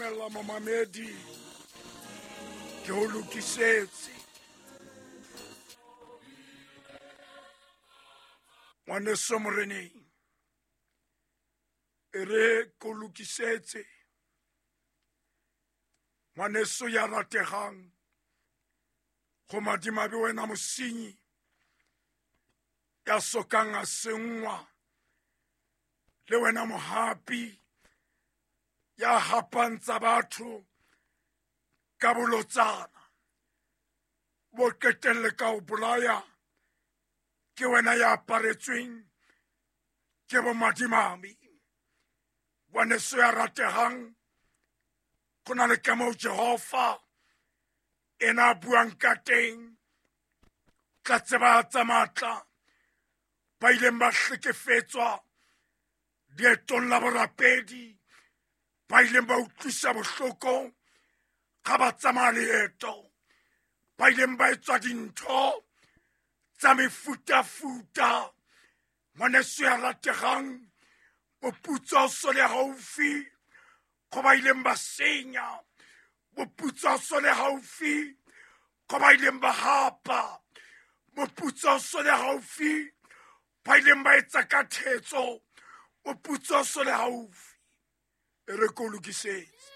Dumella momamedi, ke ho lokisetse. Ngwaneso moreneng, e re ke o lokisetse. Ngwaneso ya rategang, go madimabe wena mosenyi ya sokang a senngwa, le wena mohapi ya hapang tsa batho ka bolotsana, bo qetelle ka ho bolaya, ke wena ya aparetsweng ke bomadimabe. Ngwaneso ya rategang, go na le ka moo Jehova ena a buang ka teng, tla tsebahatsa matla ba ileng ba hlekefetswa leetong la borapedi, ba ileng ba utlwisa bohloko ga ba tsamaya leeto, ba ileng ba etswa dintho tsa mefutafuta. Ngwaneso ya rategang, moputso o so le haufi go ba ileng ba senya, moputso o so le haufi go ba ileng ba hapa, moputso o so le haufi ba ileng ba etsa ka thetso, moputso o so le haufi. E re ke o lokisetse.